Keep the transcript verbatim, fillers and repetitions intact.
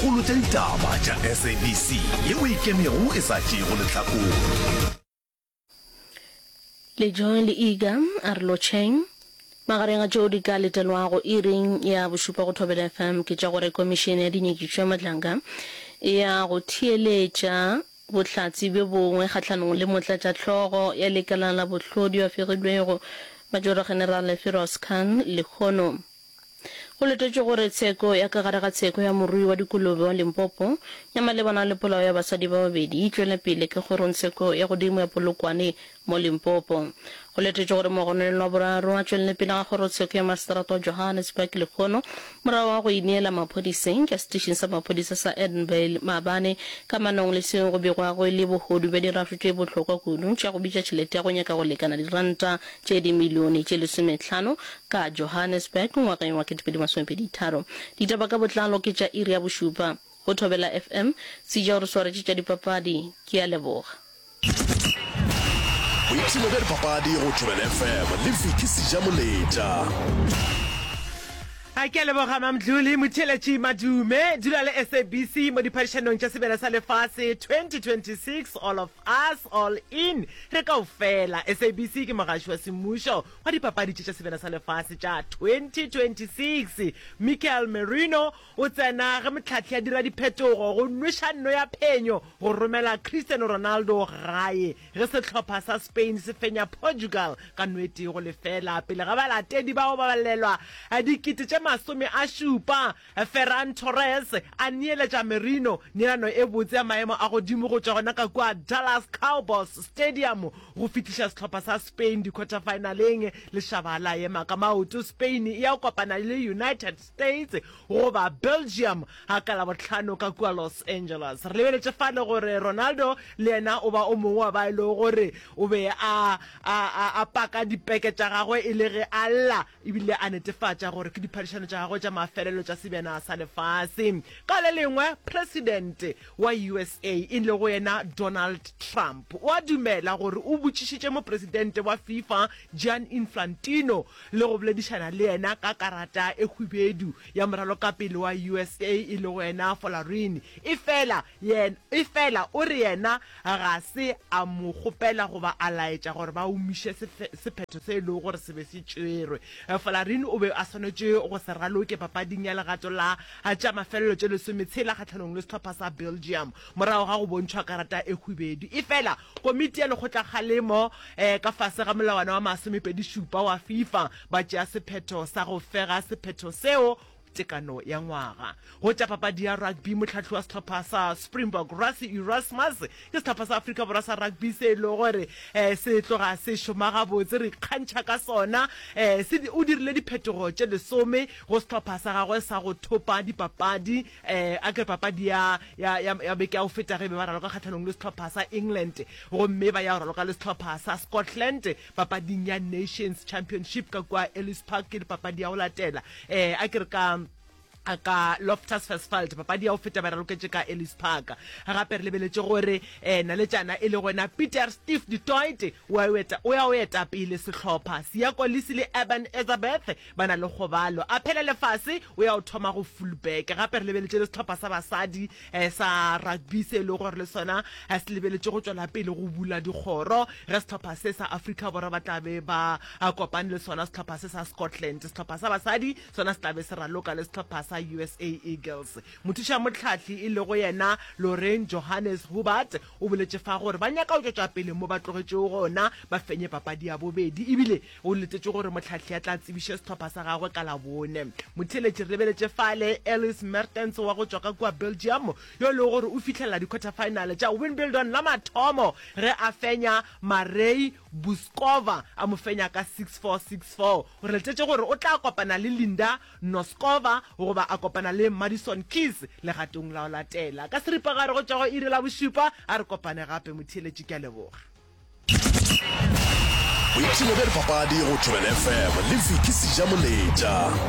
Kgolo tša ditaba tša S A B C yeo e ikemego e sa tšeego lehlakore. Le Joy le Iga a re lotšheng. Magareng a tšeo di ka letelwago iring ya bošupa go Thobela F M ke tša gore Komišene ya Dinyakišišo ya Madlanga e ya go theeletša bohlatse bjo bongwe kgahlanong le motlatšahlogo ya lekala la bohlodi yo a fegilwego Majoro Generale Firoz Khan lehono. Go letetšwe gore tsheko ya ka gare ga tsheko ya morui wa dikolobe wa Limpopo ya malebana le polao ya basadi ba babedi e tšwele pele ka kgorongtsheko ya godimo ya Polokwane mo Limpopo. Go letetšwe gore mogononelwa wa boraro a tšwelele pele ga kgorotsheko ya maseterata wa Johannesburg lehono morago ga go ineela maphodiseng ka setešeng sa maphodisa sa Edenvale maabane kamanong le seo go begwago e le bohodu bja dirašo tše bohlokwa kudu tša go bitša tšhelete ya go nyaka go lekana diranta tše dimilione tše lesomehlano ka Johannesburg ngwageng wa kete pedi masomepedi tharo. Ditaba ka botlalo ke tša iri ya bošupa go Thobela F M. Seja o re swaretše tša dipapadi. Ke a leboga. Boipshino bja dipapadi go Thobela F M le Vicky Sejamoletša. A ke a leboga Mamdluli. Motheeletši madume, dula le S A B C mo diphadišanong tša Sebjana sa Lefase twenty twenty-six. All of us, all in, re kaofela. S A B C ke mogaši wa semmušo wa dipapadi tše tša Sebjana sa Lefase tša twenty twenty-six. Mikel Merino o tsena ge motlhahli a dira diphetogo go nweša nno ya phenyo go romela Cristiano Ronaldo gae ge sehlopha sa Spain se fenya Portugal ka nno e tee go lefela pele ga balatedi bao ba balelwa dikete tše masome a šupa. Ferran Torres a neeletša Merino neelano e botse ya maemo a godimo go tšwa gona ka kua Dallas Cowboys Stadium go fihliša sehlopha sa Spain di-quarter finaleng. Lešaba la ema ka maoto. Spain e ya go kopana le United States goba Belgium ga ka Labohlano ka kua Los Angeles. Re lebeletše fale gore Ronaldo le yena o ba o mongwe wa ba e lego gore o be a a a a paka dipeke tša gagwe e le ge a lla ebile a netefatša gore ke diphadišano tša gagwe tša mafelelo tša Sebjana sa Lefase. Ka le lengwe, President wa U S A e lego yena Donald Trump o a dumela gore o botšišitše mopresidente wa FIFA Gianni Infantino le go boledišana le yena ka karata e hwibedu ya moralokapele wa U S A e lego yena Folarin, efela yena efela o re yena ga se a mo kgopela goba a laetša gore ba omiše sephetho se e lego gore se be se tšerwe. Folarin o be a swanetše go se raloke papading ya legato la tša mafelelo tše lesometshela kgahlanong le sehlopha sa Belgium morago ga go bontšhwa karata e hwibedu, efela komiti ya lekgotlakgalemo ka fase ga molawana wa masomepedi šupa wa FIFA ba tšea sephetho sa go fega sephetho seo tekano ya ngwaga. Go tša papadi ya rugby, mohlahli wa sehlopha sa Springbok Rassie Erasmus, ke sehlopha sa Afrika Borwa sa rugby se e lego gore um se tloga se šoma gabotse, re ikgantšha ka sona, um se o dirile diphetogo tše lesome go sehlopha sa gagwe sa go thopa dipapadi. um a ke re papadi ya ya ya ya beke ya go feta ge be ba raloka kgahlanong le sehlopha sa England gomme ba ya go raloka le sehlopha sa Scotland papading ya Nations Championship ka kua Ellis Park, ke papadi ya go latela um a ke re ka ka Loftus Versfeld, papadi ya go feta ba raloketše ka Ellis Park. Gape re lebeletše gore um naletšana e le gona Pieter Steph du Toit o ya o eta pele sehlopha. Siya Kolisi le Eben Etzebeth ba na le kgobalo, a phele lefase o ya o thoma go fullback. Gape re lebeletše le sehlopha sa basadi um sa rugby se e lego gore le sona se lebeletše go tšwela pele go bula dikgoro ge sehlopha se sa Afrika Borwa ba tla be ba kopane le sona sehlopha se sa Scotland. Sehlopha sa basadi sona se tla be se raloka le sehlopha sa U S A Eagles. Mothuša mohlahli e lego yena Lorraine Johannes Hubert o boletše fa gore ba nyaka go tšwetša pele mo ba tlogetšego gona, ba fenye papadi ya bobedi, ebile o letetše gore mohlahli a tla tsebiše sehlopha sa gagwe ka Labone. Motheeletši, re lebeletše fale Elise Mertens wa go tšwa ka kua Belgium yo e lego gore o fihlelela di-quarter final tša Wimbledon la mathomo ge a fenya Marie Bouzkova a mo fenya ka six four, six four. O re letetše gore o tla kopana le Linda Noskova goba a kopana le Madison Keys legatong la go latela. Ka seripagare go tšwa go iri la bošupa, a re kopane gape motheeletši, ke a leboga. Boipshino bja dipapadi go Thobela F M le Vicky Sejamoletša.